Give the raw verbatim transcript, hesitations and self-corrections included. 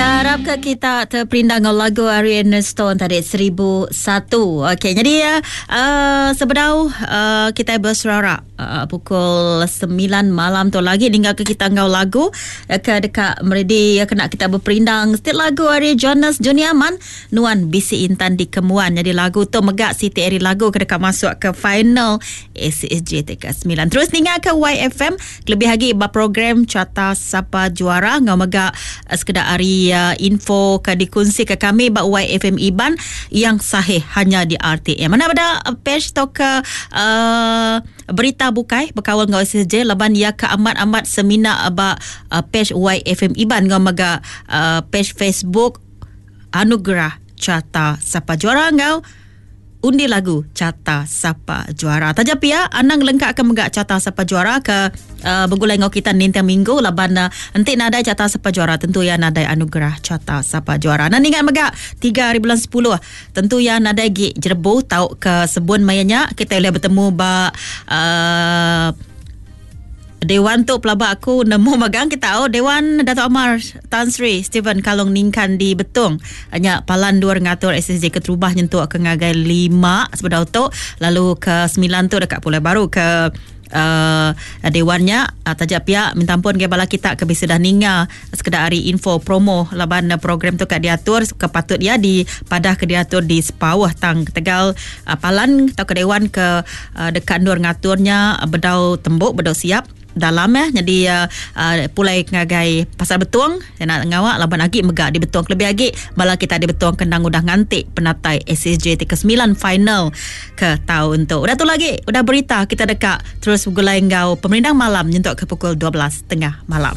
Ya, harap ke kita terperindang dengan lagu Ari Stone tadi seribu satu. Okey, jadi ya uh, sebedau uh, kita berserara uh, pukul sembilan malam tu lagi hingga ke kita ngau lagu uh, ke dekat meredi uh, kena kita berperindang setiap lagu Ari Jonas Juniaman Nuan Bisi Intan di Kemuan. Jadi lagu tu megak Siti Ari lagu ke dekat masuk ke final A C S J T K sembilan. Terus ninga ke Y F M lebih lagi ba program Carta Sapa Juara ngau megak uh, sekedar ari uh, info ke dikongsi ke kami ba Y F M Iban yang sahih hanya di R T M. Mana pada page atau ke uh, berita bukai berkawal ngau S S J laban ya ke amat-amat semina ba uh, page Y F M Iban ngau mega uh, page Facebook Anugerah Carta Sapa Juara ngau undi lagu Carta Sapa Juara. Taja pia anang lengkap ke megak Carta Sapa Juara ke uh, bergulai ngau kita nintiang minggu laban uh, entik nadai Carta Sapa Juara tentu ya nadai Anugerah Carta Sapa Juara. Nan ingat megak tiga hari bulan sepuluh tentu ya nadai gi jerbu tau ke sebun mayanya kita boleh bertemu ba uh, Dewan tu pelabak aku nemu magang kita oh Dewan Dato' Amar Tan Sri Stephen Kalong Ningkan di Betong hanya palan dua ngatur S S J keterubah nyentuk ke ngagai lima sebedau tu lalu ke sembilan tu dekat Pulau Baru ke uh, dewannya uh, tajak pihak minta ampun ke bala kita ke bisa dah ninga sekedar hari info promo laban program tu kat diatur kepatut dia di padah ke diatur di Sepawah tang Tegal uh, palan atau ke dewan ke uh, dekat nur ngaturnya uh, bedau tembok bedau siap dalam ya jadi uh, uh, pulai ngagai pasar Betung nak ngawak laban agi megak di Betung lebih agi bala kita di Betung kendang udah ngantik penatai S S J T ke sembilan final ke tahun tu. Udah tu lagi udah berita kita dekat terus bergulai ngau pemerindang malam nyentuk ke pukul dua belas tengah malam.